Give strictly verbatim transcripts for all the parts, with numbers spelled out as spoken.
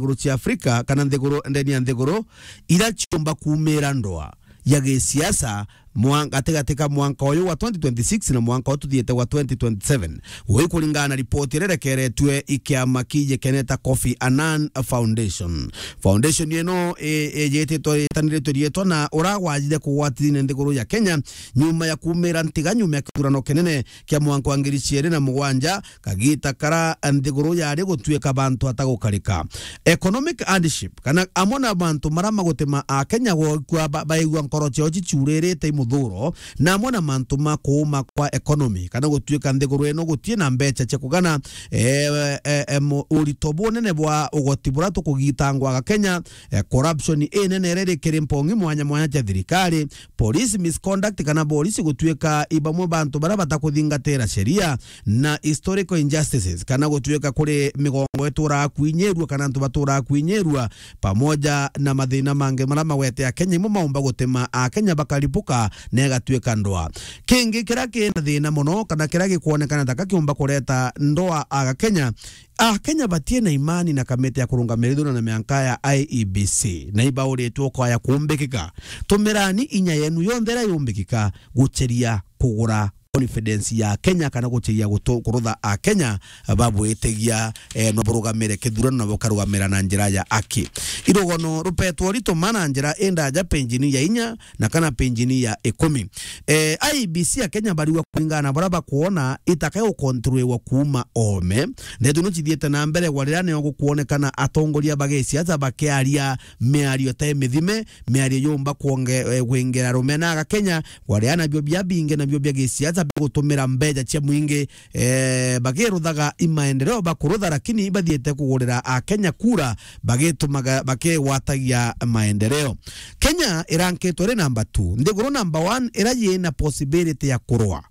nthiguru cia Afrika kana nthiguru, ndeni ya nthiguru, ira ciumba kuumira ndoa ya gisiasa mwan-, gatigati ka mwanka uyu wa twenty twenty-six na mwanka uyu tuthiite wa twenty twenty-seven. Ui kuringana na ripoti iria irekeretue i kiama kijikeneta Kofi Annan Foundation. Foundation ino i-, ijititwe, itaniritwe riitwa na uragwajire kugwatithia nthiguru ya Kenya nyuma ya kuumira ntiga nyuma ya kithurano kinene kia mwanka wa ngiri ciiri na mugwanja, kagita kara nthiguru yari gutuika bantu atagukarika. Economic hardship, kana amwe na mantu mara magutuma Akenya gukua ba-, baigua nkoro ciao ciciuririte i muthuro, na amwe na mantu ma kuuma kwa economy, kana gutuika nthiguru ino gutie na mbeca cia kugana, eh, eh, eh, mu-, urito bunene bwa ugoti bura tukugitangwa Akenya, eh, corruption inene iria iri kiri mpongi mwanya mwanya cia thirikari, police misconduct kana borisi gutuika i bamwe bantu baria batakuthingatira sheria, na historical injustices, kana gutuika kuri migongo ituraga kwinyirua kana antu baturaga kwinyirua, pamoja na mathina mangi maria magwete Akenya imwe maumba gutuma Akenya bakaripuka na igatuika ndoa. Kingi kiria kina thina mono kana kiria gikwonekana ta ka kiumba kureta ndoa aga Kenya, Akenya batie na imani na kamiti ya kurungamira ithurano na mianka ya I E B C, na ibauritwe ukoya kumbikika. Tumirani inya yenu yonthe iria yumbikika gucheria kugura confidence ya Kenya kana gucheria gutu-, kurutha Akenya babwitigia, eh, no burugamire kithurano na bukarugamira na njira ya aki. Irugano rupetwo rituma na njira indaja penjini ya inya na kana penjini ya ikumi. Eh, I E B C ya Kenya bariua kuringana na baria bakwona itaka gukontroliwa kuuma oome. Ndeto ino cithiite na mbere gwa riria nio gukwonekana atongoria ba gisiasa bakiaria miario ta imithime, miario yumba kuonge-, eh, kwingera rumena aga Kenya, gwa riria nabio bia bingi nabio bia gisiasa bigutumira mbeca cia mwingi, eh, bagiruthaga i maendeleo bakurutha, lakini ibathiite kugurira Akenya kura, bagitumaga, bakigwatagia maendeleo. Kenya irankitwe iri namba two. Nthiguru namba one ira yina possibility ya kurwa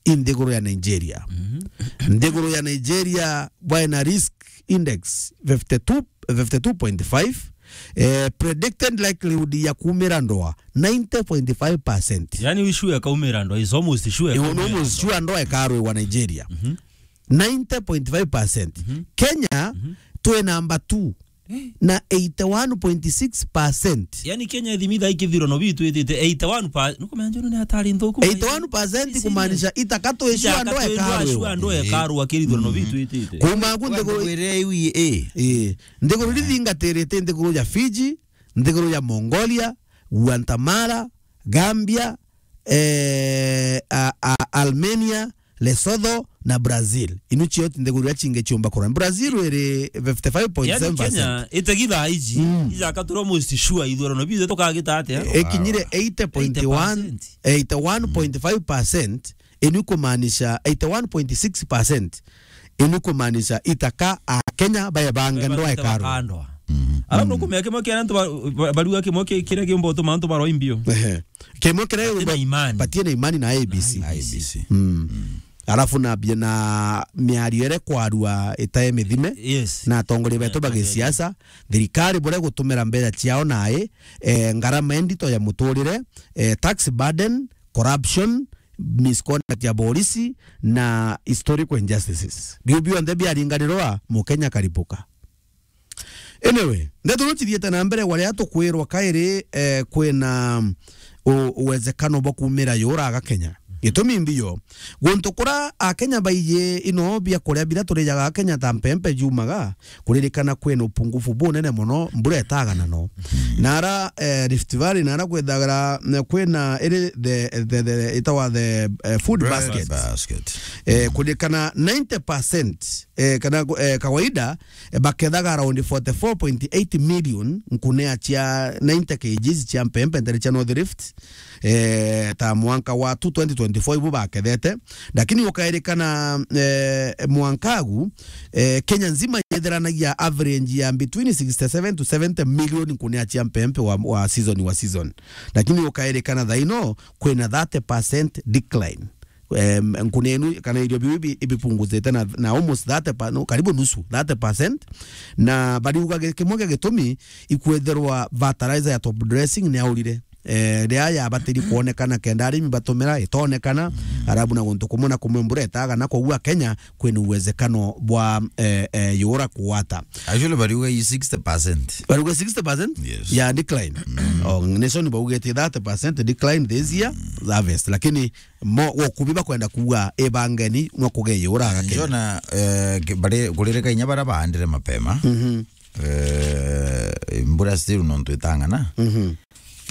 i nthiguru ya Nigeria. Mhm. Nthiguru ya Nigeria bwaina risk index fifty-two, fifty-two point five, eh, predicted likelihood ya kuumira ndoa ninety point five percent. Yani, we sure kaumira ndoa, is almost sure. Ni kaumira almost ndoa. Sure ndoa ikarwiwa Nigeria. Mhm. Ninety point five percent. Mhm. Kenya, mhm, twi namba two. Eh. Na eighty-one point six percent. Yani, Kenya ithimi thaa ikithirwa no bitu itite eighty-one pa-, nukumenya njono ni hatari nthuku. Eighty-one percent. Ni serious. Kumaanisha itaka twi sure ndoa ikarwiwa. Sure ndoa ikarwiwa kirithwa no bitu itite. Kuma ku nthiguru iria iwi, eh. Eh. Nthiguru iria ithingatirite nthiguru ya Fiji, nthiguru ya Mongolia, Guatemala, Gambia, eh, a, a, Armenia, Lesotho na Brazil. Inu cio ti nthiguru iria cingi ciumba kurwa. Brazil iri fifty-five point seven percent. Yani Kenya itegi thaa iji, mm, ijaka turi almost sure ithurano bitu tukagita atia? Ikinyire eighty point one, eighty percent. Eighty-one point five percent. Inu kumaanisha eighty-one point six percent. Inu kumaanisha itaka Akenya baebange ndoa ikarwa. Baebange ndoa. Mhm. Alafu, mm, nukumenya kimwe kia antu ba-, ba-, bariuga kimwe ki-, kiria kiumba utuma antu barwa imbio. Ehe. Kimwe kiria batie na imani. Batie na imani na I E B C. Na I E B C. Mm. Mm. Alafu na bia na miario iria kwarua itae mithime. Yes. Na atongoria betu ba gisiasa, thirikari buria gutumira mbeca ciao nai, eh, ngarama indito ya muturire, eh, tax burden, corruption, misconduct ya borisi na historical injustices. Biu bionthe biaringanirwa, Mukenya akaripuka. Anyway, ndeto no cithiite na mbere, gwa riria tukwirwa kairi, eh, kwina u-, uwezekano bwa kuumira yuraga Kenya. Gitumi mbio, guntu kura Akenya baiji ino bia kuria biria turijaga Kenya ta mpempe jumaga, kuririkana kwina upungufu bunene mono, mbura itaga na no. Mhm. Nara, eh, Rift Valley, nara kwithagira, eh, kwina iri the, the, the, itawa the, eh, food basket. Bread basket. Eh, kuririkana ninety percent, eh, kana, eh, kawaida, eh, bakethaga around forty-four point eight million nkunea cia ninety kilograms cia mpempe ntere cia North Rift, eh, ta mwanka wa tu twenty twenty-four ibu bakethete. Lakini ukairikana, eh, mwanka agu, eh, Kenya nzima yetheranagia average ya between sixty-seven to seventy million nkunea cia mpempe wa, wa season, wa season. Lakini ukairikana thaino kwina thirty percent decline. Em, nkunea inu kana irio biu ibi-, ibipunguzite na, na almost thirty pa-, no, karibu nusu, thirty percent. Na bariuga gi-, kimwe gia gitumi ikwetherwa fertilizer ya top dressing ni aurire. eh, riria yabatiri kwonekana kenda arimi batumira, itonekana, arabu na guntu kumwe na kumwe mbura itaga, na koguo Kenya kwina uwezekano bwa, eh, eh, yura kugwata. Actually, bariuga i sixty percent. Bariuga sixty percent? Yes. Ya decline. Mm. Oh, Nation baugite thirty percent decline this year, harvest. Lakini mo, gukubi bakwenda kuuga, ibangeni, no kuge yura aga Kenya. Njona, eh, ki-, bari-, kuririka inya bara baandire mapema. Mhm. Eh, mbura still nontu itang'ana. Mhm.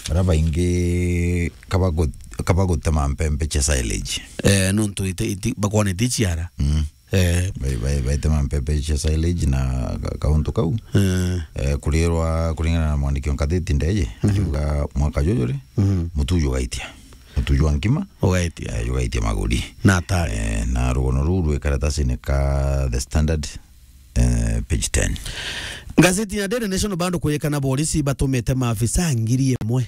Bara baingi kabagu-, kabagutema mpempe cia silage. Eh, nontu iti-, iti-, bakwona iticiara. Mm. Eh. Bai-, bai-, baitema mpempe cia silage na ka-, kauntu kau. Eh. Eh, kurirwa kuringana na mwandiki wa ngatheti Ndeje, mhm, akiuga mwaka juju ri, mhm, mutu jugaitia. Mutu jwa nkima. Ugaitia. Eh, jugaitia maguri. Na atari. Eh, na rugono ruu rwi karatasini ka The Standard, eh, page ten. Ngazeti ya Daily Nation bado kwirikana borisi batumite maafisa ngiri imwe,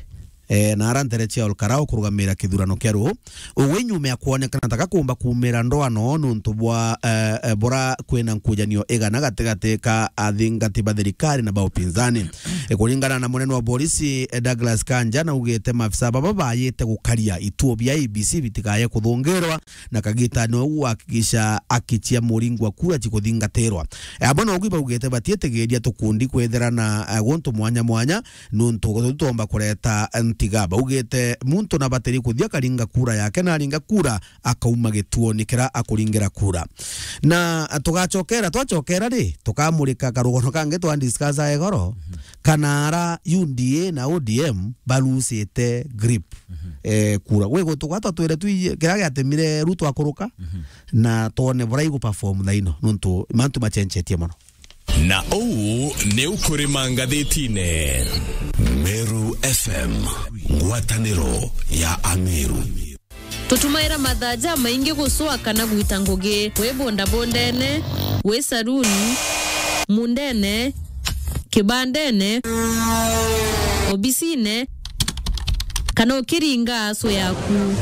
eh, na ara ntere cia Ol Kalou kurugamira kithurano kia ruu. Ugwe nyuma ya kwonekana taka kumba kumira ndoano nuntu bwa, eh, eh, bura kwina nkujanio igana gatigati ka athingati ba thirikari na ba upinzani. Eh, kuringana na munene wa borisi, eh, Douglas Kanja, naugite maafisa baba bayite gukaria ituo bia I E B C bitikaye kuthungirwa, na kagita no guhakikisha haki cia muringo wa kura cikuthingatirwa. Eh, amwe nogu baugite batietigiria tukundi kwithira na, eh, guntu mwanya mwanya, nuntu tutomba kureta ntiga. Baugite muntu nabatiri kuthia akaringa kura yake, na aringa kura akauma gituoni kira akuringira kura. Na tugacokera, twacokera ri, tukamurika karugono kangi twa discuss igoro, kana ara U D A na O D M barusite grip. Mhm. Eh, kura. Gwi guntu gwa twatwire twi-, kiria giatemire Ruto akuruka, mhm, na twone buria igu perform thaino, nuntu mantu machenjetie mono. Na uu ni ukurima ngathitine. Meru F M, ngwataniro ya Ameru. Tutumaira mathaa jamaingi gucua kana gwita ngugi, wi bondabondene, wi saruni, mundene, kibandene, obisine, kana ukiringa aso yaku.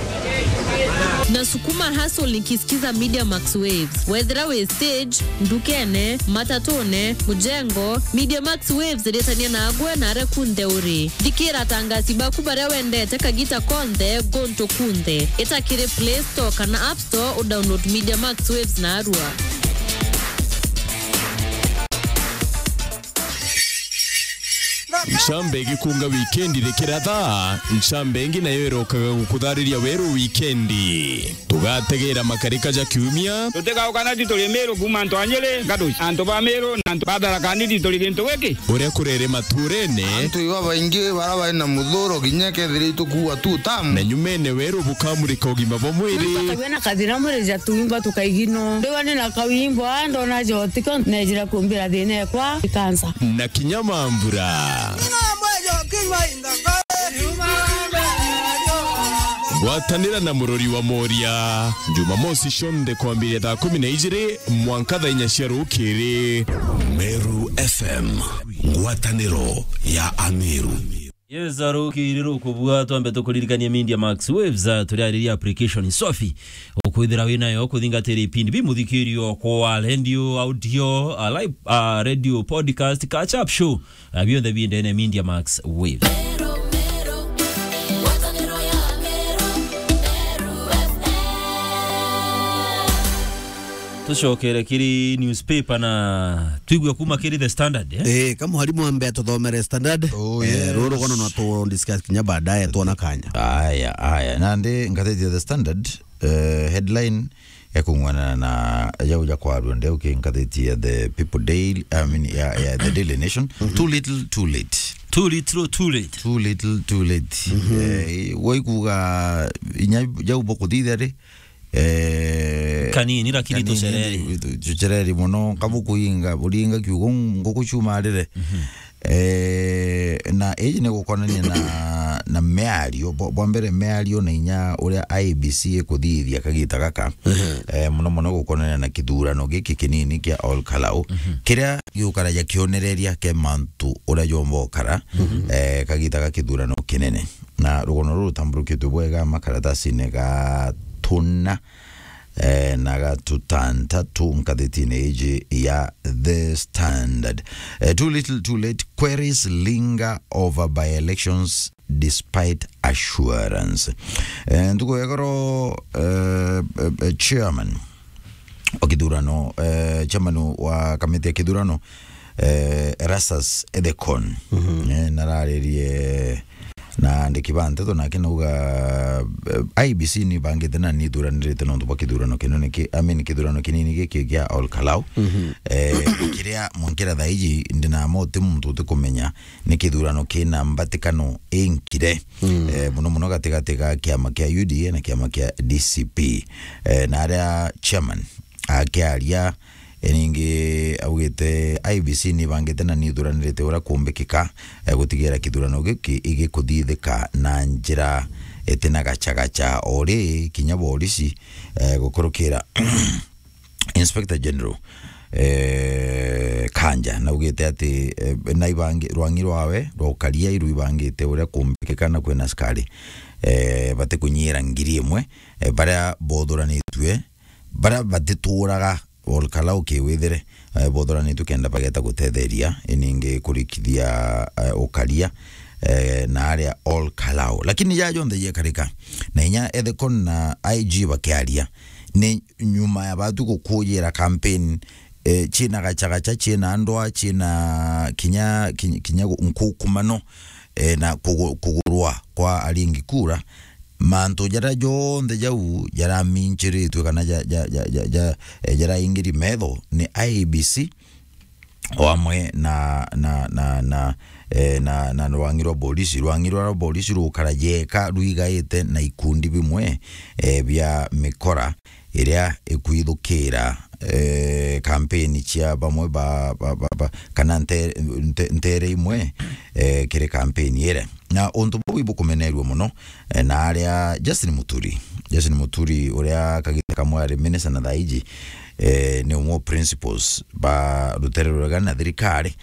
Nasukuma hustle nikisikiza Media Max Waves. Wethira wi stage, ndukene, matatune, mujengo, Media Max Waves iritania nagwe na aria kunthe uri. Thikira atangasi baku baria wendete kagita konthe, guntu kunthe. Ita kiri Play Store kana App Store, udownload Media Max Waves narua. Ncambe igikunga wikendi rikira thaa, ncambe ingi nayo irokaga gukuthariria weru wikendi. Tugategera makarika ja kiumia. Tutigaukana ti turi Miru kuuma antu a Nyiri, Gaduci, antu ba Miru na antu ba Tharaka Nithi turi gintu giki. Uria kurere maturene. Antu iba baingi bara bari na muthuro kinya kethira itukuua tu tamu. Na nyumene weru bukamurika ugima bwa mwiri. Muntu akagua na kathina mwiri ja tuimba tukaigino. Ndiwa ni na kawimbo, a, ndona jotiko, nejira kumbira thina ekwa, ikansa. Na kinya mambura. Gwatanira na Murori wa Moria, Jumamosi cionthe kwambiria thaa kumi na ijiri mwanka thaa inya cia rukiri. Meru F M, ngwataniro ya Ameru. Yes, arukiri rukubua, twambe tukuririkanie Media Max Waves, ah, turiariria application swafi ukwithira wi nayo kuthingatira ipindi bimuthikirio kwa radio, audio, ah, live, ah, radio, podcast, catch up show, ah, bionthe bi ndene Media Max Waves. Tucokere kiri newspaper na twigue kuma kiri The Standard, eh? Eh, ka mwarimu ambe atuthomere Standard. Oh, eh, yes. Ruru gono no tu discuss kinya baadaye, tuona kanya. Aya, aya. Nandi ngatheti ya The Standard, eh, headline ekung'wana na jau ja kwarua ndeu ki ngatheti ya The People Daily, I mean, ya, ya The Daily Nation. Mhm. Too little, too late. Too little, too late. Too little, too late. Mhm. Eh, waikuga inya jau bokuthithia ri, eh, kanini, lakini kanini, tucereri. Tu-, tucereri muno, kabukuinga, buringa kiugo nguku ciumarire. Mhm. Eh, na iji ni gukonania na, na miario, bwa, bwa mbere miario na inya uria I E B C ikuthithia kagita gaka. Mhm. Eh, muno muno gukonania na kithurano giki kinini kia Ol Kalou. Mhm. Kiria giukaragia kionereria kia mantu uria jomba ukara, mhm, eh, kagita ga kithurano kinene. Na rugono ruru rutamburukitwe bwega makaratasine ga tuna, eh, na ga tutantatu ngathetine iji ya The Standard. Eh, too little, too late, queries linger over by-elections despite Assurance. Eh, ntuku ya igoro, eh, eh, eh, chairman wa kithurano, eh, chairman wa kamiti ya kithurano, eh, Erastus Ethekon. Mhm. Eh, nararirie na andiki ba nteto nake nauga, eh, I E B C ni bangite na ni ithuranirite nontu bwa kithurano kinene ki, I mean, kithurano kinini giki kia Ol Kalou. Mhm. Eh, kiria mwankira thaa iji ndinamo ti muntu utikumenya ni kithurano kina mbatikano inkire. Mm. Eh, muno muno gatigati ga kiama kia U D A na kiama kia D C P. Eh, na aria chairman akiaria, e, ningi augite I E B C ni bangite na ni ithuranirite uria kumbikika, e, gutigira kithurano giki igikuthithika na njira itina gachagacha. O ri kinya borisi, e, gukurukira Inspector General, eh, Kanja, naugite ati, eh, naibangi-, rwang'i rwawe rwa ukaria iru ibangite uria kumbikika na kwina askari, eh, batikunyira ngiri imwe, eh, baria bothuranitue, baria batituraga Ol Kalou kiwithire, eh, bothuranitue kenda bageta gutetheria, iningi kurikithia, eh, ukaria, eh, na aria Ol Kalou. Lakini ja jonthe jekarika, na inya Ethekon na I G bakiaria, ni nyuma ya batu gukujira campaign, eh, ciina gachagacha, ciina ndwa, ciina kinya, kinya, kinya gu-, nkukumano, eh, na kugu-, kugurwa kwa aringi kura, mantu jaria jonthe jau jaraminchiritue kana ja, ja, ja, ja, ja, eh, jaraingiri metho ni I E B C, o amwe na, na, na, na, eh, na, na rwang'i rwa borisi. Rwang'i rwa borisi rukara jeka rwigaite na ikundi bimwe, eh, bia mikora iria ikwithukira, eh, kampeni cia bamwe ba, ba, ba, ba, kana nte-, nte-, ntere imwe, eh, kiri kampeni ire. Na untu buu ibukumenerua muno, eh, na aria Justin Muturi. Justin Muturi, uria kagita kamwe ari minister na thaiji, eh, ni umwe wa principals ba rutere rurega na thirikari,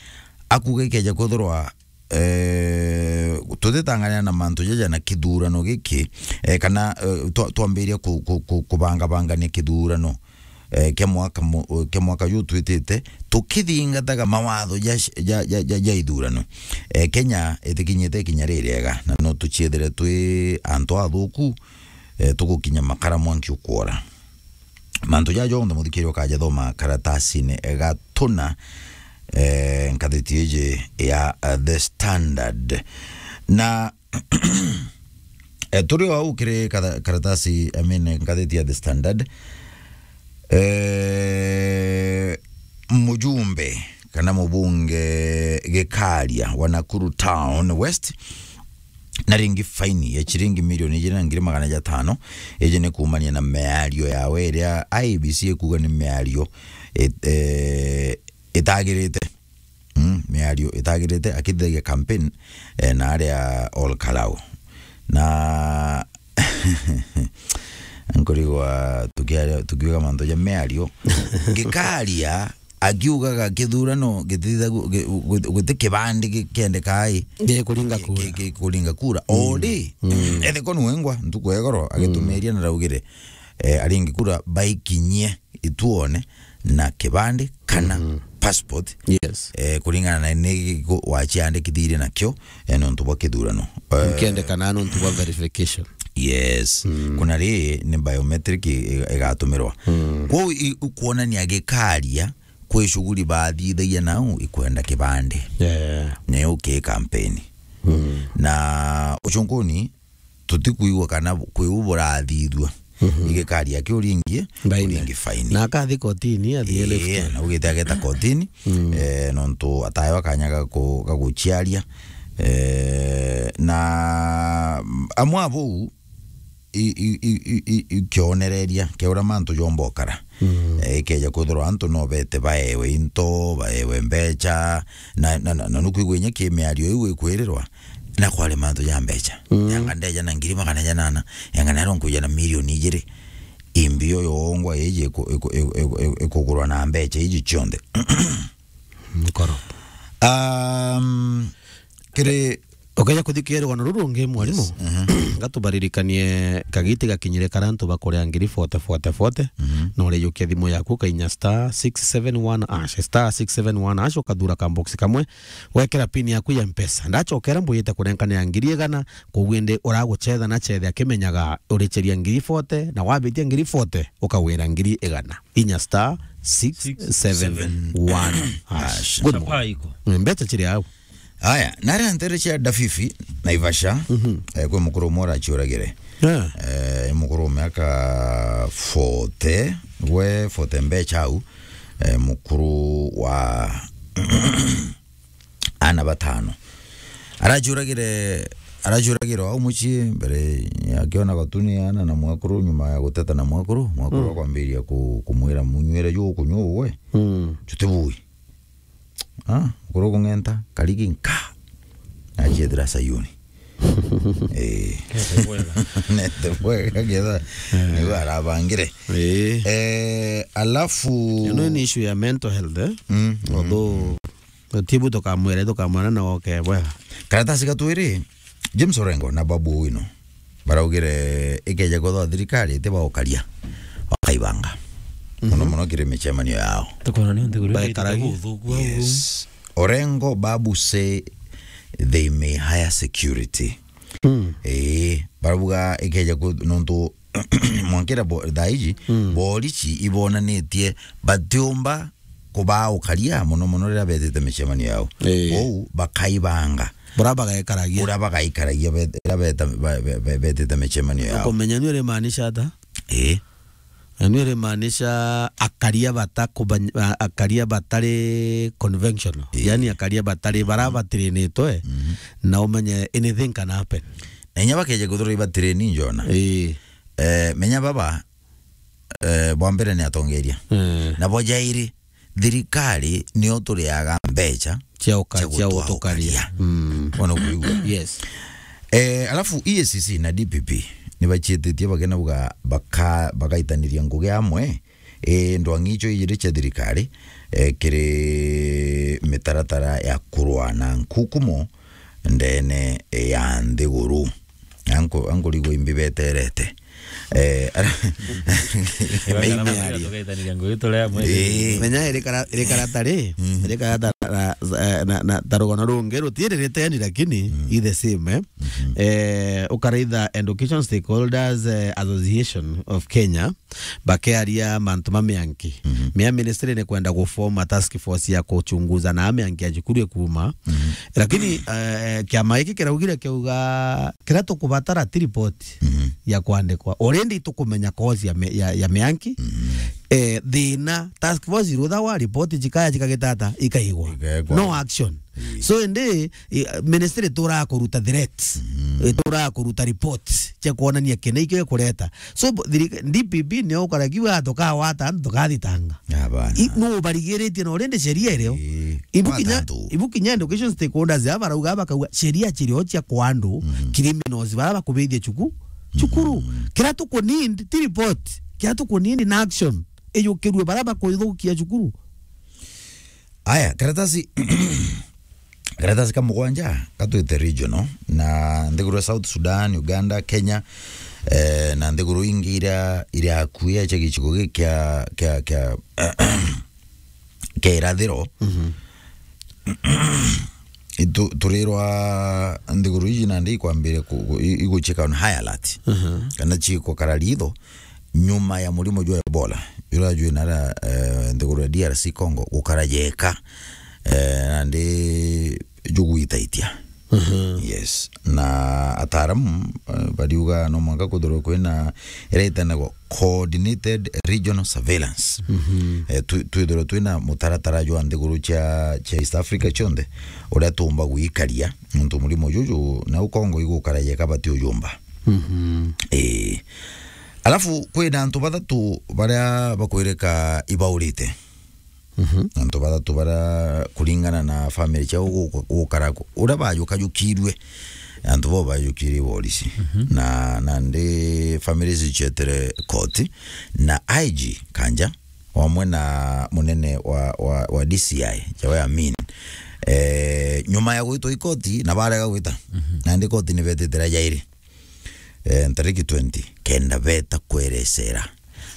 akuga ikeja kwithirwa, eh, tutitangania na mantu jaja na kithurano giki, eh, kana, eh, twa-, twambiria ku-, ku-, ku-, kubangabangania kithurano, eh, kia mwaka mu-, kia mwaka ju twitite, tukithingataga mawatho ja, ja, ja, ja, ja ithurano. Eh, Kenya itikinyite ikinya ririega, na no tuciethire twi antu athuku, eh, tugukinya makara mwanki ukwora. Mantu jaja jonthe, muthikiri, ukaja thoma karatasine gatuna, eh, ngathiti iji ya, eh, The Standard. Na Eh, turi o au kiri katha-, karatasi, I mean, ngathiti ya The Standard. Eh, mujumbe kana mubunge Gikaria wa Nakuru Town West na ringi faini ya ciringi milioni ijiri na ngiri magana jatano, iji ni kuumania na miario yawe iria I E B C ikuuga ni miario it-, eh, itagirite. Mm, miario itagirite, akithithagia campaign, eh, na aria Ol Kalou. Na nkurigwa tukiaria, tukiuga mantu ja miario. Gikaria akiugaga kithurano gitithagwo-, gi-, gu-, guti kibandi gi-, kiendekaa i. Gi-, kuringa kura. Gi-, gi-, kuringa kura. Mm. Ori, mm, Ethekon wengwa, ntuku ya igoro, mm, agitumiria na raugire, eh, aringi kura baikinyie ituone na kibandi kana, mhm, passport. Yes. Eh, kuringana na ni giku waciandikithirie nakio, eh, nontu bwa kithurano. Eh, nkiendekana nontu bwa verification. Yes. Mm. Kuna ri ni biometric i-, igatumirwa. Mm. Kwou i-, ukuonania Gikaria kwi shughuli bathithagia nau ikwenda kibandi. Yeah. Ni uki campaign. Mm. Na ucunkuni tutikwigua kana kwi u burathithua. Mhm. Igikaria kiu ringi, baine, ringi faini. Na akathi kotini, athi, ii, left. Na ugite ageta kotini, mm, eh, nontu ataewa kanya ga ku-, ga guciaria. Eh, na amwe a bau i-, i-, i-, i-, i-, i-, kionereria kia uria mantu jomba ukara. Mm. Eh, ikeja kwithirwa antu no bete baewe into, baewe mbecha, na, na, na, na nukwigua inya ki miario iu ikwirirwa, na kwari mantu ja mbecha. Mm. Yanga ndeja na ngiri magana janana, yanga naro nkuja na milioni ijiri. Imbio yongwa iji iku-, iku-, iku-, iku-, iku-, ikugurwa na mbecha iji cionthe. Nkoro. Um, kiri ukeja kuthikira rugano ruru rungi, mwarimu. Yes. Mhm. Gatubaririkanie kagiti gakinyire karia antu bakuria ngiri forty, forty, forty. Mhm. Na urijukia thimu yaku, ukainya star six seven one hash, star six seven one hash, ukathura ka box kamwe, wekera pin yaku ya Mpesa. Ndachokera mbuyite kunenkanira ngiri igana, koguo indi uraguchetha na chethe akimenyaga uricheria ngiri forty, na wabitia ngiri forty, ukagwira ngiri igana. Inya star six seven one hash. Hash. Good morning. Sapai iko. Mm, mbecha chiri au. Aya, naria ntere cia Dafifi, Naivasha, mhm, eh, kwi mukuru umwe araciuragire. Yeah. Eh, mukuru wa miaka forty, we forty mbecha au, eh, mukuru wa ana batano. Araciuragire, araciuragire au mucii mbere ya kiona gatuni ana na mwekuru, nyuma ya guteta na mwekuru, mwekuru, mm, akwambiria ku-, kumwira, "Munywire ju ukunyua ugwe, mm, jutibui." Ah, kuru kung'enta, karigi nka. Aciethira Sayuni. Eh. Nete bwega. Nete bwega, ketha. Eh. Niwe arabangire. Eh. Eh, alafu ino ni issue ya mental health, eh? Mm, mm. Although, tibu tukamwira, tukamwira na oke bwega. Karatasi gatwiri, James Orengo na Babu Owino baraugire ikeja kwithwa thirikari iti baukaria, bakaibanga. Muno, mhm, muno kiri micemanio yao. Tukona ni untu kuri baikaragia. Yes. Orengo, Babu say they may hire security. Mm. Ii, barauga ikeja ku-, nontu mwankira bo-, thaa iji, mm, borichi ibonanitie batiumba kubaukaria muno muno riria betite micemanio yao. Ii. Kwou bakaibanga. Bura bagaikaragia. Bura bagaikaragia bet-, riria beta-, ba-, be-, be-, betite micemanio yao. Ukumenya ni urimaanisha ata? Ii. Na ni urimaanisha akaria bata kubany-, a-, akaria batari conventional. Ii. Yani akaria batari bara, mhm, batirinitwe, mhm, na umenye anything can happen. Na inya bakeje kuthurwa ibatireni njona. Ii. Eh, menya baba, eh, bwa mbere ni atongeria. Mm. Na bwa jairi, thirikari nio turiaga mbecha cia uka-, cia cia gutukaria. Gutukaria. Mm. Wana kuigua? Yes. Eh, alafu E A C C na D P P ni bachietitie bakenauga baka-, bagaitaniria ngugi amwe, eh, ndwang'i icio ijiri cia thirikari, eh, kiri mitaratara ya kurwa na nkukumo ndene ya nthiguru. Anku-, ankurigwa imbi beterete. Eh, ara-, Ibaga na Menya maria aria. Tugaitaniria ngugi turia amwe. Eh. Menya iri kara-, iri karata ri, mhm, iri karata na, na, na, na ta rugano rungi rutiririte yani, lakini, mm, i the same, eh. Mhm. Eh, ukaraitha Education Stakeholders, eh, Association of Kenya, bakearia mantu ma mianki. Mhm. Mea ministry ni kwenda guform a task force ya kuchunguza na mianki ya cukuru ikuma. Mhm. Lakini, eh, kiama giki kiraugire kiuga kiria tukubatara ti report, mhm, ya kwandikwa. Already tukumenya cause ya mi-, ya, ya mianki. Mhm. Eh, thina, task force iruthawa, report cikaya cikagitata, ikaigwa. Ikaigwa. No action. Ii. So indi, i-, ministry turaga kuruta threats, mm, ituraga kuruta reports cia kuonania kina ikio ikureta. So, bo-, thiri-, D P P nio ukarakiwa tukawata antu tukathitanga. Abana. I-, nu ubarigiritie na urindi sheria irio. Ii. Ibu kinya, wata antu. Ibu kinya education stakeholders aba barauga, bakauga sheria cirio cia kwa andu, mm, criminals bara bakubithia cuku-, cukuru. Mm. Kira tuku need ti report, kira tuku need na action. Iyukirue bara bakuithukia cukuru. Aya, karatasi, karatasi ka mugwanja, katwite regional, na nthiguru ya South Sudan, Uganda, Kenya, eh, na nthiguru ingi iria, iria akuya cia gicigo giki kia, kia, kia, kia irathiro. Mhm. Itu-, turirwa nthiguru iji nandi ikwambire ku-, ku-, i-, iguchika on high alert. Mhm. Kana chikukara ritho, nyuma ya murimo jwa Ebola, jura jwinara, eh, nthiguru ya D R C Congo, gukara jeka, eh, nandi jugwitaitia. Mhm. Yes. Na ataaramu, eh, bariuga no mwanka kwithirwe kwina ira itanagwa coordinated regional surveillance. Mhm. Eh, twi-, twithirwe twina mutaratara jwa nthiguru cia, cia East Africa cionthe, uria tuumba gwikaria, nontu murimo juju, na u Congo igukara jeka bati ujumba. Mhm. Eh. Alafu, kwina antu bathatu baria bakwirika ibaurite. Mhm. Antu bathatu baria, kuringana na family ciao guka-, gukara ku-, uria bajukajukirue, antu bau bajukirue borisi. Mhm. Na, nandi family ici cietere koti, na I G Kanja, wamwe na munene wa, wa, wa D C I, Jawe Amin. Eh, nyuma ya gwitwa i koti, na barega gwita. Mhm. Nandi koti ni betite ria jairi. eh, ntariki twenty, kenda beta kwerecera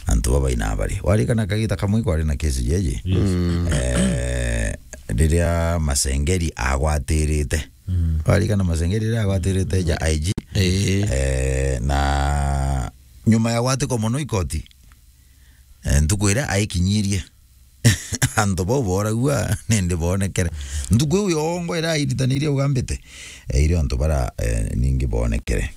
antu baba ina bari. Warikana kagita kamwe kwari na kesi jeje? Yes. Eh, riria Masengeri agwatirite. Mm. Warikana Masengeri riria agwatirite ja I G? Eh. Eh, na nyuma ya gwatikwa mono ikoti, eh, ntuku iria aikinyirie, antu bau booragua nindi boonekere. Ntuku iu yongo iria airitanirie ugambite, eh, irio antu bara, eh, ningi boonekere.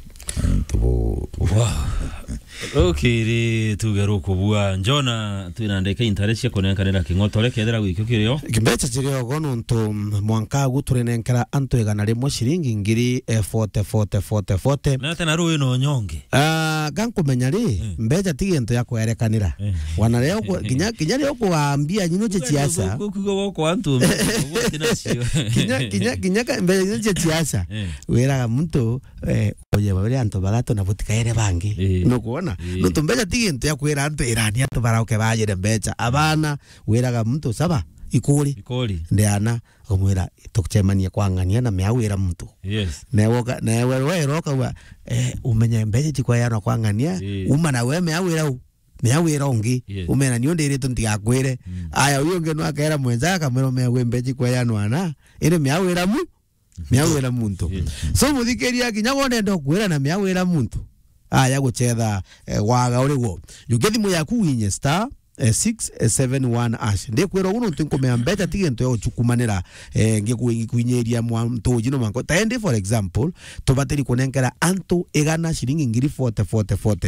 Antu bau. Wow. Ukiri tuge rukubua. Njona twina ndeka intare cia kunenkanira king'otore kethira gwikio kirio. Kimbecha kirio go nontu mwanka agu turinenkera antu igana rimwe ciringi ngiri, eh, forty, forty, forty, forty. Na tena rui no nyonge. Ah, gankumenya ri, mm, mbecha ti gintu ya kwerekanira. Eh. Wana leo ku-, kinya, kinya leo kuambia nyino cia siasa. Ku-, ku-, kugo kwa antu, ugo tinacio. Kinya, kinya, kinya ka-, mbecha nyino cia siasa. Eh. Wiraga muntu, eh, oye, bari antu baratu na butikaere bangi. Eh. Nukwona? Eh. Nontu mbecha ti gintu ya kwira antu irani antu barauke bajire mbecha. Abana, wiraga muntu, saba, ikuri. Ikuri. Ndeana, umwira, tucemanie kwa ng'ania na miau ira muntu. Yes. Newe uka-, newe we uroka uga, eh, umenye mbecha itikweanwa kwa ng'ania, eh, uma na we miau ira u, miau ira ungi. Yes. Umena ni undiritwe ntigakwire. Mm. Aya, uyu ungi no akera mwenza akamwira, "Umenye gwi mbecha ikweanwa na, iri miau ira mu, miau ira muntu." Yes. So, muthikiria, kinya wonenda ukwira na miau ira muntu. Aya guchetha, eh, waga uri gwo. Juke thimu yaku winye star, eh, six seven one hash. Ndikwira ugu nontu nkumea mbecha ti gintu ya uchukumanira, eh, ngiku-, ngikuinyiria mwa-, ntuji no manko. Taendi, for example, tubatiri kunenkera antu igana ciringi ngiri forty, forty, forty.